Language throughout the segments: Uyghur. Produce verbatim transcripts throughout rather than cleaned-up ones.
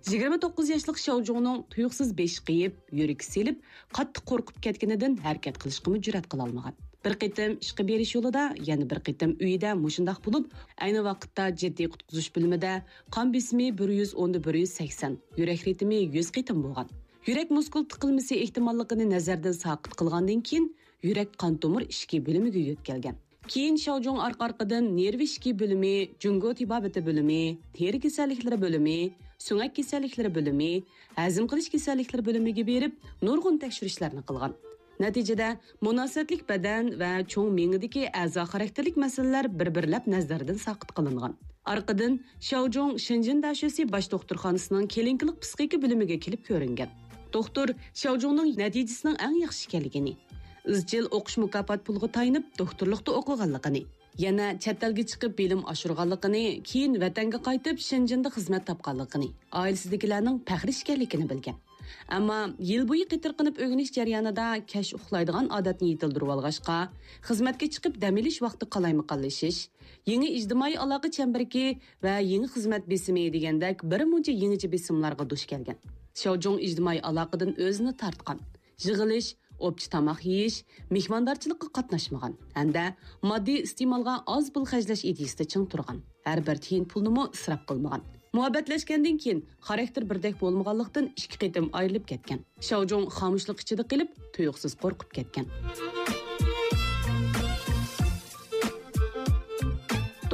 يىگىرمە توققۇز ياشلىق شاۋجۇڭنىڭ تۇيۇقسىز بېشى قېيىپ، يۈرىكى سېلىپ، قاتتىق قورقۇپ كەتكىنىدىن ھەرىكەت قىلىشقىمۇ جۈرئەت قىلالمىغان. بىر قېتىم ئىشقا بېرىش يولىدا، يەنە بىر قېتىم ئۆيىدە مۇشۇنداق بولۇپ، ئەينى ۋاقىتتا جىددىي قۇتقۇزۇش بۆلۈمىدە قان بېسىمى بىر يۈز ئوندا بىر يۈز سەكسەن، يۈرەك رىتىمى يۈز قېتىم بولغان. يۈرەك مۇسكۇل تىقىلمىسى ئېھتىماللىقىنى نەزەردىن ساقىت قىلغاندىن كېيىن، يۈرەك قان تومۇر ئىچكى بۆلۈمىگە يۆتكەلگەن. كېيىن شاۋجۇڭ ئارقا-ئارقىدىن نېرۋا ئىچكى بۆلۈمى، جۇڭگو تېبابىتى بۆلۈمى، تېرە كېسەللىكلىرى بۆلۈمى، سۆڭەك كېسەللىكلىرى بۆلۈمى، ھەزىم قىلىش كېسەللىكلىرى بۆلۈمىگە بېرىپ، نۇرغۇن تەكشۈرۈشلەرنى قىلغان. نەتىجىدە، مۇناسىۋەتلىك بەدەن ۋە چوڭ مېڭىدىكى ئەزا خاراكتېرلىك مەسىلىلەر بىر-بىرلەپ نەزەردىن ساقىت قىلىنغان. ئارقىدىن شاۋجۇڭ شېنجېن دەشۆسى باش دوختۇرخانىسىنىڭ كلىنىكىلىق پسىخىكا بۆلۈمىگە كېلىپ كۆرۈنگەن. دوختۇر شاۋجۇڭنىڭ نەتىجىسىنىڭ ئەڭ ياخشى ئىكەنلىكىنى، ئىزچىل ئوقۇش مۇكاپات پۇلىغا تايىنىپ دوختۇرلۇقتا ئوقۇغانلىقىنى، يەنە چەت ئەلگە چىقىپ بىلىم ئاشۇرغانلىقىنى، كېيىن ۋەتەنگە قايتىپ شېنجېندا خىزمەت تاپقانلىقىنى، ئائىلىسىدىكىلەرنىڭ پەخرى ئىكەنلىكىنى بىلگەن. ئەمما يىل بويى قېتىرقىنىپ ئۆگىنىش جەريانىدا كەچ ئۇخلايدىغان ئادەتنى يېتىلدۈرۈۋالغاچقا، خىزمەتكە چىقىپ دەم ئېلىش ۋاقتى قالايمىقانلىشىش، يېڭى ئىجتىمائىي ئالاقە چەمبىرىكى ۋە يېڭى خىزمەت بېسىمى دېگەندەك بىر مۇنچە يېڭىچە بېسىملارغا دۇچ كەلگەن. شاۋجۇڭ ئىجتىمائىي ئالاقىدىن ئۆزىنى تارتقان. يىغىلىش، ئوپچە تاماق يېيىش، مېھماندارچىلىققا قاتناشمىغان ھەمدە ماددىي ئىستېمالغا ئاز پۇل خەجلەش ئىدىيىسىدە چىڭ تۇرغان. ھەر بىر تىيىن پۇلنىمۇ ئىسراپ قىلمىغان. مۇھەببەتلەشكەندىن كېيىن خاراكتېر بىردەك بولمىغانلىقتىن ئىككى قېتىم ئايرىلىپ كەتكەن. شاۋجۇڭ خامۇشلۇق ئىچىدە قېلىپ، تۇيۇقسىز قورقۇپ كەتكەن.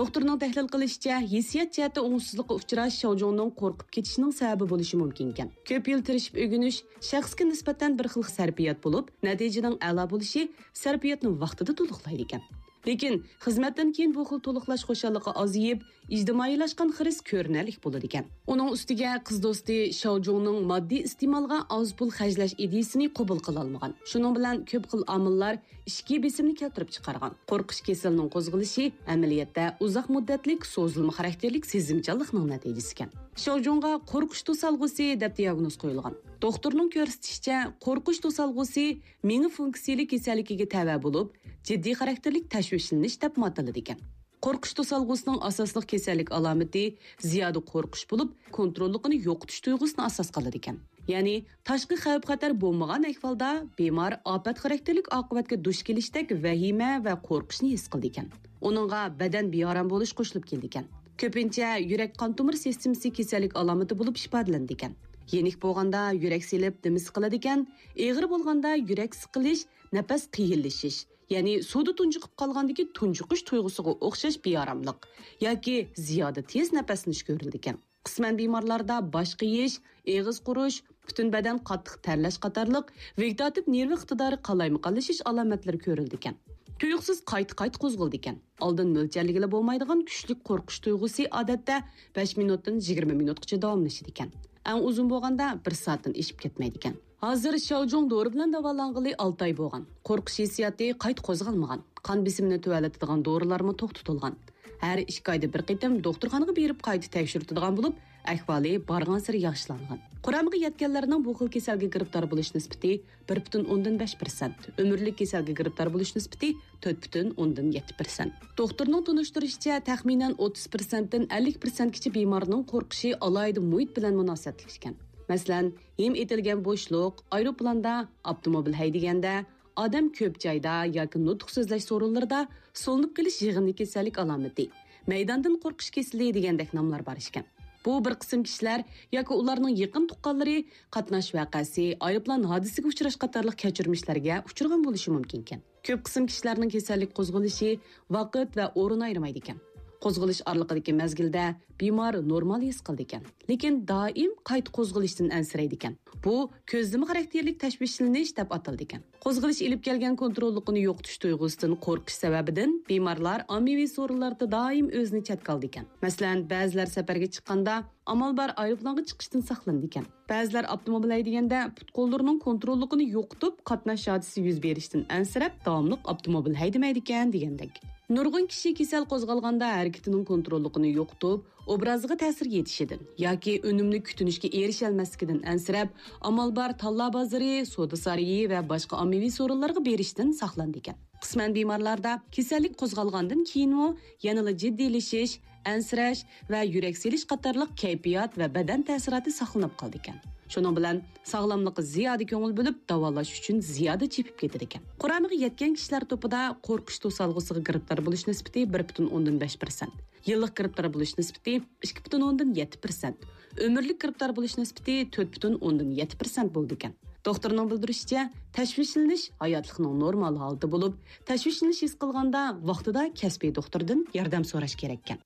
دوختۇرنىڭ تەھلىل قىلىشىچە، ھېسسىيات جەھەتتە ئوڭۇشسىزلىققا ئۇچراش شاۋجۇڭنىڭ قورقۇپ كېتىشىنىڭ سەۋەبى بولۇشى مۇمكىنكەن. كۆپ يىل تىرىشىپ ئۆگىنىش شەخسكە نىسبەتەن بىر خىل سەرپىيات بولۇپ، نەتىجىنىڭ ئەلا بولۇشى سەرپىياتنى ۋاقتىدا تولۇقلايدىكەن. لېكىن خىزمەتتىن كېيىن بۇ خىل تولۇقلاش خۇشاللىقى ئازىيىپ، ئىجتىمائىيلاشقان خىرىس كۆرۈنەرلىك بولىدىكەن. ئۇنىڭ ئۈستىگە قىز دوستى شاۋجۇڭنىڭ ماددىي ئىستېمالغا ئاز پۇل خەجلەش ئىدىيىسىنى قوبۇل قىلالمىغان. شۇنىڭ بىلەن كۆپ خىل ئامىللار ئىچكى بېسىمنى كەلتۈرۈپ چىقارغان. قورقۇش كېسىلىنىڭ قوزغىلىشى ئەمەلىيەتتە ئۇزاق مۇددەتلىك سوزۇلما خاراكتېرلىك سېزىمچانلىقنىڭ نەتىجىسىكەن. شاۋجۇڭغا قورقۇش توسالغۇسى دەپ دىياگنوز قويۇلغان. دوختۇرنىڭ كۆرسىتىشىچە، قورقۇش توسالغۇسى مېڭە فۇنكسىيىلىك كېسەللىكىگە تەۋە بولۇپ، جىددىي خاراكتېرلىك تەشۋىشلىنىش دەپمۇ ئاتىلىدىكەن. قورقۇش توسالغۇسىنىڭ ئاساسلىق كېسەللىك ئالامىتى زىيادە قورقۇش بولۇپ، كونتروللۇقىنى يوقىتىش تۇيغۇسىنى ئاساس قىلىدىكەن. يەنى تاشقى خەۋپ-خەتەر بولمىغان ئەھۋالدا بىمار ئاپەت خاراكتېرلىك ئاقىۋەتكە دۇچ كېلىشتەك ۋەھىمە ۋە قورقۇشنى ھېس قىلىدىكەن. ئۇنىڭغا بەدەن بىئارام بولۇش قوشۇلۇپ كېلىدىكەن. كۆپىنچە يۈرەك قان تومۇر سىستېمىسى كېسەللىك ئالامىتى بولۇپ ئىپادىلىنىدىكەن. يېنىك بولغاندا يۈرەك سېلىپ دېمى سىقىلىدىكەن، ئېغىر بولغاندا يۈرەك سىقىلىش، نەپەس قىيىنلىشىش، يەنى سۇدا تۇنجۇقۇپ قالغاندىكى تۇنجۇقۇش تۇيغۇسىغا ئوخشاش بىئاراملىق ياكى زىيادە تېز نەپەسلىنىش كۆرۈلىدىكەن. قىسمەن بىمارلاردا باش قېيىش، ئېغىز قۇرۇش، پۈتۈن بەدەن قاتتىق تەرلەش قاتارلىق ۋېگېتاتىپ نېرۋا ئىقتىدارى قالايمىقانلىشىش ئالامەتلىرى كۆرۈلىدىكەن. تۇيۇقسىز قايتا-قايتا قوزغىلىدىكەن. ئالدىن مۆلچەرلىگىلى بولمايدىغان كۈچلۈك قورقۇش تۇيغۇسى ئادەتتە بەش مىنۇتتىن يىگىرمە مىنۇتقىچە داۋاملىشىدىكەن. ئەڭ ئۇزۇن بولغاندا بىر سائەتتىن ئېشىپ كەتمەيدىكەن. ھازىر شاۋجۇڭ دورا بىلەن داۋالانغىلى ئالتە ئاي بولغان. قورقۇش ھېسسىياتى قايتا قوزغالمىغان. قان بېسىمىنى تۆۋەنلىتىدىغان دورىلارمۇ توختىتىلغان. ھەر ئىككى ئايدا بىر قېتىم دوختۇرخانىغا بېرىپ قايتا تەكشۈرتىدىغان بولۇپ، ئەھۋالى بارغانسېرى ياخشىلانغان. قۇرامىغا يەتكەنلەرنىڭ بۇ خىل كېسەلگە گىرىپتار بولۇش نىسبىتى بىر پۈتۈن ئوندىن بەش پىرسەنت، ئۆمۈرلۈك كېسەلگە گىرىپتار بولۇش نىسبىتى تۆت پۈتۈن ئوندىن يەتتە پىرسەنت. دوختۇرنىڭ تونۇشتۇرۇشىچە، تەخمىنەن ئوتتۇز پىرسەنتتىن ئەللىك پىرسەنتكىچە بىمارنىڭ قورقۇشى ئالاھىدە مۇھىت بىلەن مۇناسىۋەتلىك ئىكەن. مەسىلەن، ھىم ئېتىلگەن بوشلۇق، ئايروپىلاندا، ئاپتوموبىل ھەيدىگەندە، ئادەم كۆپ جايدا ياكى نۇتۇق سۆزلەش سورۇنلىرىدا سولىنىپ قېلىش يىغىندى كېسەللىك ئالامىتى، مەيداندىن قورقۇش كېسىلى دېگەندەك ناملار بار ئىكەن. بۇ بىر قىسىم كىشىلەر ياكى ئۇلارنىڭ يېقىن تۇغقانلىرى قاتناش ۋەقەسى، ئايروپىلان ھادىسىگە ئۇچراش قاتارلىق كەچۈرمىشلەرگە ئۇچرىغان بولۇشى مۇمكىنكەن. كۆپ قىسىم كىشىلەرنىڭ كېسەللىك قوزغىلىشى ۋاقىت ۋە ئورۇن ئايرىمايدىكەن. قوزغىلىش ئارىلىقىدىكى مەزگىلدە بىمار نورمال ھېس قىلىدىكەن، لېكىن دائىم قايتا قوزغىلىشتىن ئەنسىرەيدىكەن. بۇ كۆزلىمە خاراكتېرلىك تەشۋىشلىنىش دەپ ئاتىلىدىكەن. قوزغىلىش ئېلىپ كەلگەن كونتروللۇقىنى يوقىتىش تۇيغۇسىدىن قورقۇش سەۋەبىدىن بىمارلار ئاممىۋى سورۇنلاردا دائىم ئۆزىنى چەتكە ئالىدىكەن. مەسىلەن، بەزىلەر سەپەرگە چىققاندا ئامال بار ئايروپىلانغا چىقىشتىن ساقلىنىدىكەن. بەزىلەر ئاپتوموبىل ھەيدىگەندە پۇت-قوللىرىنىڭ كونتروللۇقىنى يوقىتىپ، قاتناش ھادىسىسى يۈز بېرىشتىن ئەنسىرەپ، داۋاملىق ئاپتوموبىل ھەيدىمەيدىكەن دېگەندەك. نۇرغۇن كىشى كېسەل قوزغالغاندا ھەرىكىتىنىڭ كونتروللۇقىنى يوقىتىپ، ئوبرازىغا تەسىر يېتىشىدىن ياكى ئۈنۈملۈك كۈتۈنۈشكە ئېرىشەلمەسلىكىدىن ئەنسىرەپ، ئامال بار تاللا بازىرى، سودا سارىيى ۋە باشقا ئاممىۋى سورۇنلارغا بېرىشتىن ساقلىنىدىكەن. قىسمەن بىمارلاردا كېسەللىك قوزغالغاندىن كېيىنمۇ يەنىلا جىددىيلىشىش، ئەنسىرەش ۋە يۈرەك سېلىش قاتارلىق كەيپىيات ۋە بەدەن تەسىراتى ساقلىنىپ قالىدىكەن. شۇنىڭ بىلەن ساغلاملىققا زىيادە كۆڭۈل بۆلۈپ، داۋالاش ئۈچۈن زىيادە چېپىپ كېتىدىكەن. قۇرامىغا يەتكەن كىشىلەر توپىدا قورقۇش توسالغۇسىغا گىرىپتار بولۇش نىسبىتى بىر پۈتۈن ئوندىن بەش پىرسەنت، يىللىق گىرىپتار بولۇش نىسبىتى ئىككى پۈتۈن ئوندىن يەتتە پىرسەنت، ئۆمۈرلۈك گىرىپتار بولۇش نىسبىتى تۆت پۈتۈن ئوندىن يەتتە پىرسەنت بولىدىكەن. دوختۇرنىڭ بىلدۈرۈشىچە، تەشۋىشلىنىش ھاياتلىقنىڭ نورمال ھالىتى بولۇپ، تەشۋىشلىنىش ھېس قىلغاندا ۋاقتىدا كەسپىي دوختۇردىن ياردەم سوراش كېرەككەن.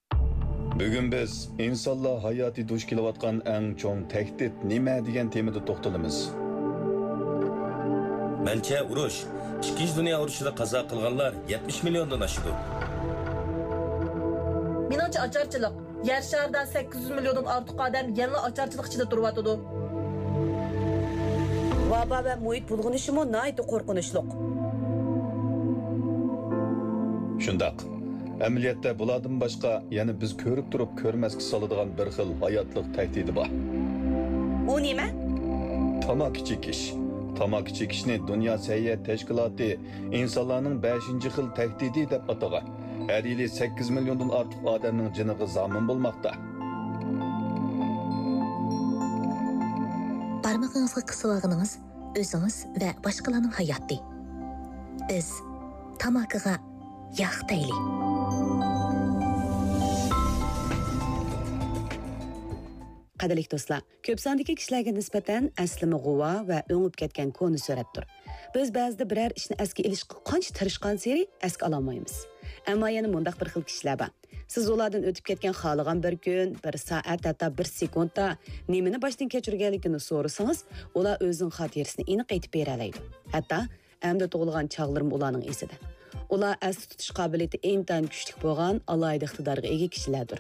بۈگۈن بىز ئىنسانلار ھاياتى دۇچ كېلىۋاتقان ئەڭ چوڭ تەھدىت نېمە دېگەن تېمىدا توختىلىمىز. مەنچە ئۇرۇش، ئىككىنچى دۇنيا ئۇرۇشىدا قازا قىلغانلار يەتمىش مىليوندىن ئاشىدۇ. مېنىڭچە ئاچارچىلىق. يەر شارىدا سەككىز يۈز مىليوندىن ئارتۇق ئادەم يەنىلا ئاچارچىلىق ئىچىدە تۇرۇۋاتىدۇ. ۋابا ۋە مۇھىت بۇلغىنىشىمۇ ناھايىتى قورقۇنچلۇق. شۇنداق. ئەمەلىيەتتە بۇلاردىن باشقا يەنە بىز كۆرۈپ تۇرۇپ كۆرمەسكە سالىدىغان بىر خىل ھاياتلىق تەھدىتى بار. ئۇ نېمە؟ تاماكا چېكىش. تاماكا چېكىشنى دۇنيا سەھىيە تەشكىلاتى ئىنسانلارنىڭ بەشىنچى خىل تەھدىتى دەپ ئاتىغان. ھەر يىلى سەككىز مىليوندىن ئارتۇق ئادەمنىڭ جېنىغا زامىن بولماقتا. بارمىقىڭىزغا قىسىۋالغىنىڭىز ئۆزىڭىز ۋە باشقىلارنىڭ ھاياتى. بىز تاماكىغا ياق دەيلى. قەدىرلىك دوستلار، كۆپ ساندىكى كىشىلەرگە نىسبەتەن ئەسلىمە غۇۋا ۋە ئۆڭۈپ كەتكەن كونا سۈرەتتۇر. بىز بەزىدە بىرەر ئىشنى ئەسكە ئېلىشقا قانچە تىرىشقانسېرى ئەسكە ئالالمايمىز. ئەمما يەنە مۇنداق بىر خىل كىشىلەر بار. سىز ئۇلاردىن ئۆتۈپ كەتكەن خالىغان بىر كۈن، بىر سائەت، ھەتتا بىر سېكۇنتتا نېمىنى باشتىن كەچۈرگەنلىكىنى سورىسىڭىز، ئۇلار ئۆزىنىڭ خاتىرىسىنى ئېنىق ئېيتىپ بېرەلەيدۇ. ھەتتا ئەمدى تۇغۇلغان چاغلىرىمۇ ئۇلارنىڭ ئېسىدە. ئۇلار ئەستە تۇتۇش قابىلىيىتى ئىنتايىن كۈچلۈك بولغان، ئالاھىدە ئىقتىدارغا ئىگە كىشىلەردۇر.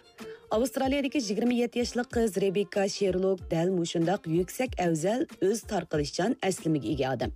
ئاۋسترالىيەدىكى يىگىرمە يەتتە ياشلىق قىز رېبېككا شېرلوك دەل مۇشۇنداق يۈكسەك ئەۋزەل، ئۆز تارقىلىشچان ئەسلىمىگە ئىگە ئادەم.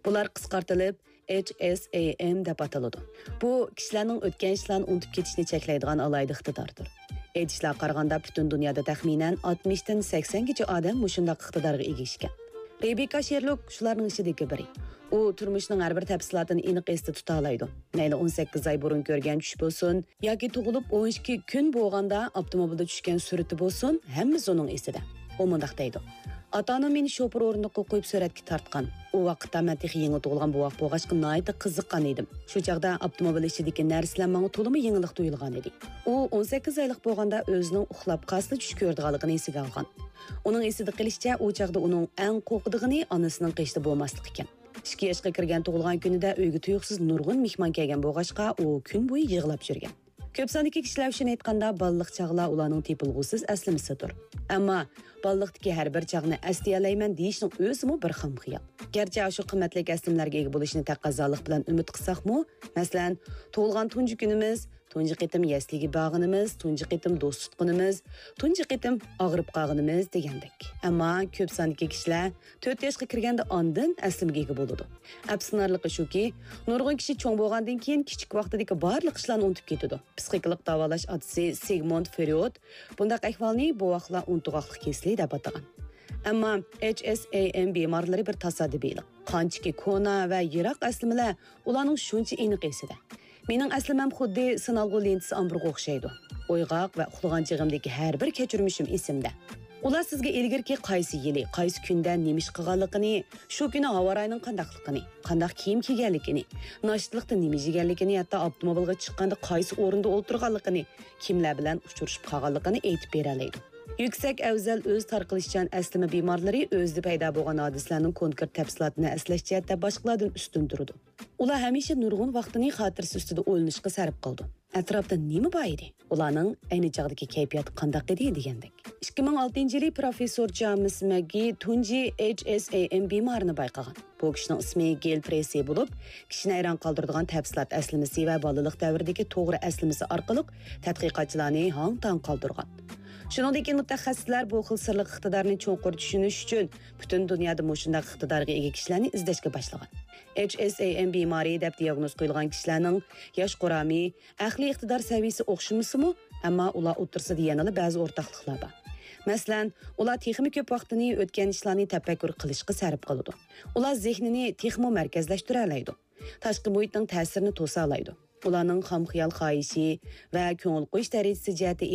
بۇلار قىسقارتىلىپ، ئېچ ئېس ئەي ئېم دەپ ئاتىلىدۇ. بۇ كىشىلەرنىڭ ئۆتكەن ئىشلارنى ئۇنتۇپ كېتىشنى چەكلەيدىغان ئالاھىدە ئىقتىداردۇر. ئېيتىشلارغا قارىغاندا، پۈتۈن دۇنيادا تەخمىنەن ئاتمىشتىن سەكسەنگىچە ئادەم مۇشۇنداق ئىقتىدارغا ئىگە ئىكەن. رېبېككا شېرلوك شۇلارنىڭ ئىچىدىكى بىرى. ئۇ تۇرمۇشنىڭ ھەر بىر تەپسىلاتىنى ئېنىق ئېستە تۇتالايدۇ. مەيلى ئون سەككىز ئاي بۇرۇن كۆرگەن چۈش بولسۇن، ياكى تۇغۇلۇپ ئون ئىككى كۈن بولغاندا ئاپتوموبىلدا چۈشكەن سۈرىتى بولسۇن، ھەممىسى ئۇنىڭ ئېسىدە. ئۇ مۇنداق دەيدۇ: «ئاتا-ئانام مېنى شوپۇر ئورۇندۇققا قويۇپ سۈرەتكە تارتقان. ئۇ ۋاقىتتا مەن تېخى يېڭى تۇغۇلغان بوۋاق بولغاچقا ناھايىتى قىزىققان ئىدىم. شۇ چاغدا ئاپتوموبىل ئىچىدىكى نەرسىلەر ماڭا تولىمۇ يېڭىلىق تۇيۇلغان ئىدى.» ئۇ ئون سەككىز ئايلىق بولغاندا ئۆزىنىڭ ئۇخلاپ قالسىلا چۈش كۆرىدىغانلىقىنى ئېسىگە ئالغان. ئۇنىڭ ئېسىدە قېلىشىچە، ئۇ چاغدا ئۇنىڭ ئەڭ قورقىدىغىنى ئانىسىنىڭ قېشىدا بولماسلىق ئىكەن. ئىككى ياشقا كىرگەن تۇغۇلغان كۈنىدە ئۆيگە تۇيۇقسىز نۇرغۇن مېھمان كەلگەن بولغاچقا، ئۇ كۈن بويى يىغلاپ يۈرگەن. كۆپ ساندىكى كىشىلەر ئۈچۈن ئېيتقاندا، بالىلىق چاغلار ئۇلارنىڭ تېپىلغۇسىز ئەسلىمىسىدۇر. ئەمما بالىلىقتىكى ھەر بىر چاغنى ئەسلىيەلەيمەن دېيىشنىڭ ئۆزىمۇ بىر خام خىيال. گەرچە ئاشۇ قىممەتلىك ئەسلىمىلەرگە ئىگە بولۇشنى تەقەززالىق بىلەن ئۈمىد قىلساقمۇ، مەسىلەن، تۇغۇلغان تۇنجى كۈنىمىز، تۇنجى قېتىم يەسلىگە بارغىنىمىز، تۇنجى قېتىم دوست تۇتقىنىمىز، تۇنجى قېتىم ئاغرىپ قالغىنىمىز دېگەندەك. ئەمما كۆپ ساندىكى كىشىلەر تۆت ياشقا كىرگەندە ئاندىن ئەسلىمىگە ئىگە بولىدۇ. ئەپسۇسلىنارلىقى شۇكى، نۇرغۇن كىشى چوڭ بولغاندىن كېيىن كىچىك ۋاقتىدىكى بارلىق ئىشلارنى ئۇنتۇپ كېتىدۇ. پسىخىكىلىق داۋالاش ئاتىسى سىگموند فرېيود بۇنداق ئەھۋالنى بوۋاقلار ئۇنتۇغاقلىق كېسىلى دەپ ئاتىغان. ئەمما ئېچ ئېس ئەي ئېم بىمارلىرى بىر تاسادىپىيلىق. قانچىكى كونا ۋە يىراق ئەسلىمىلەر ئۇلارنىڭ شۇنچە ئېنىق ئېسىدە. مېنىڭ ئەسلىمەم خۇددى سىنالغۇ لېنتىسى ئامبىرىغا ئوخشايدۇ. ئويغاق ۋە ئۇخلىغان چېغىمدىكى ھەر بىر كەچۈرمىشىم ئېسىمدە. ئۇلار سىزگە ئىلگىرىكى قايسى يىلى، قايسى كۈندە نېمە ئىش قىلغانلىقىنى، شۇ كۈنى ھاۋا رايىنىڭ قانداقلىقىنى، قانداق كىيىم كىيگەنلىكىنى، ناشتىلىقتا نېمە يېگەنلىكىنى، ھەتتا ئاپتوموبىلغا چىققاندا قايسى ئورۇندا ئولتۇرغانلىقىنى، كىملەر بىلەن ئۇچرىشىپ قالغانلىقىنى ئېيتىپ بېرەلەيدۇ. يۈكسەك ئەۋزەل ئۆز تارقىلىشچان ئەسلىمە بىمارلىرى ئۆزىدە پەيدا بولغان ھادىسىلەرنىڭ كونكرېت تەپسىلاتىنى ئەسلەش جەھەتتە باشقىلاردىن ئۈستۈن تۇرىدۇ. ئۇلار ھەمىشە نۇرغۇن ۋاقتىنى خاتىرىسى ئۈستىدە ئويلىنىشقا سەرپ قىلىدۇ. ئەتراپتا نېمە بار ئىدى؟ ئۇلارنىڭ ئەينى چاغدىكى كەيپىياتى قانداق ئىدى؟ دېگەندەك. ئىككى مىڭ ئالتىنچى يىلى پروفېسسور جامېس مەگگى تۇنجى ئېچ ئېس ئەي ئېم بىمارىنى بايقىغان. بۇ كىشىنىڭ ئىسمى گېل پرېسسى بولۇپ، كىشىنى ھەيران قالدۇرىدىغان تەپسىلات ئەسلىمىسى ۋە بالىلىق دەۋرىدىكى توغرا ئەسلىمىسى ئارقىلىق تەتقىقاتچىلارنى ھاڭ-تاڭ قالدۇرغان. شۇنىڭدىن كېيىن مۇتەخەسسىسلەر بۇ خىل سىرلىق ئىقتىدارنى چوڭقۇر چۈشىنىش ئۈچۈن پۈتۈن دۇنيادا مۇشۇنداق ئىقتىدارغا ئىگە كىشىلەرنى ئىزدەشكە باشلىغان. ئېچ ئېس ئەي ئېم بىمارى دەپ دىياگنوز قويۇلغان كىشىلەرنىڭ ياش قۇرامى، ئەقلىي ئىقتىدار سەۋىيىسى ئوخشىمىسىمۇ، ئەمما ئۇلار ئوتتۇرىسىدا يەنىلا بەزى ئورتاقلىقلار بار. مەسىلەن، ئۇلار تېخىمۇ كۆپ ۋاقتىنى ئۆتكەن ئىشلارنى تەپەككۇر قىلىشقا سەرپ قىلىدۇ. ئۇلار زېھنىنى تېخىمۇ مەركەزلەشتۈرەلەيدۇ. تاشقى مۇھىتنىڭ تەسىرىنى توسالايدۇ. ئۇلارنىڭ خام خىيال خاھىشى ۋە كۆڭۈل قويۇش دەرىجىسى جەھەتتە